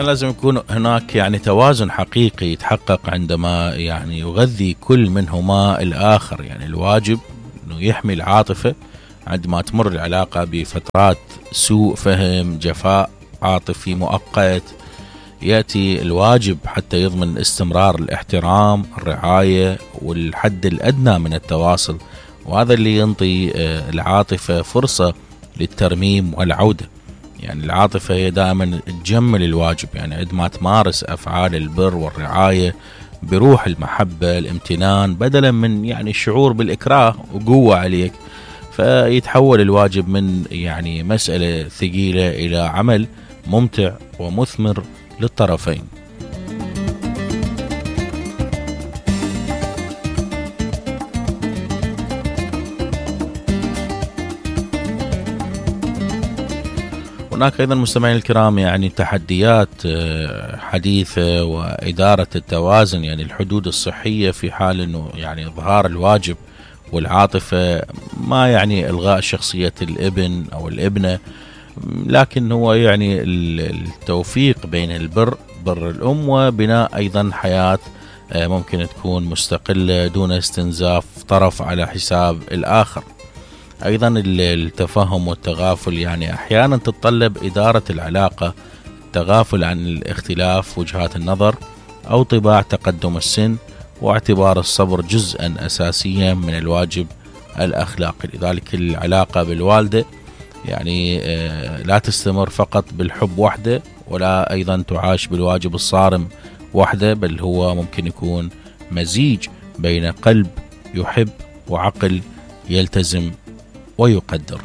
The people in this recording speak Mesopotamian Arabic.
لازم يكون هناك يعني توازن حقيقي يتحقق عندما يعني يغذي كل منهما الآخر. يعني الواجب أنه يحمي العاطفة عندما تمر العلاقة بفترات سوء فهم، جفاء عاطفي مؤقت. يأتي الواجب حتى يضمن استمرار الاحترام، الرعاية والحد الأدنى من التواصل، وهذا اللي ينطي العاطفة فرصة للترميم والعودة. يعني العاطفة هي دائما تجمل الواجب، يعني عندما تمارس أفعال البر والرعاية بروح المحبة الامتنان بدلا من يعني الشعور بالإكراه وقوة عليك، فيتحول الواجب من يعني مسألة ثقيلة إلى عمل ممتع ومثمر للطرفين. هناك أيضا مستمعين الكرام يعني تحديات حديثة وإدارة التوازن، يعني الحدود الصحية في حال أنه يعني إظهار الواجب والعاطفة ما يعني إلغاء شخصية الابن أو الابنة، لكن هو يعني التوفيق بين بر الأم وبناء أيضا حياة ممكن تكون مستقلة دون استنزاف طرف على حساب الآخر. أيضا التفاهم والتغافل، يعني أحيانا تتطلب إدارة العلاقة التغافل عن الاختلاف وجهات النظر أو طباع تقدم السن، واعتبار الصبر جزءا أساسيا من الواجب الأخلاقي. لذلك العلاقة بالوالدة يعني لا تستمر فقط بالحب وحده، ولا أيضا تعاش بالواجب الصارم وحده، بل هو ممكن يكون مزيج بين قلب يحب وعقل يلتزم ويقدر.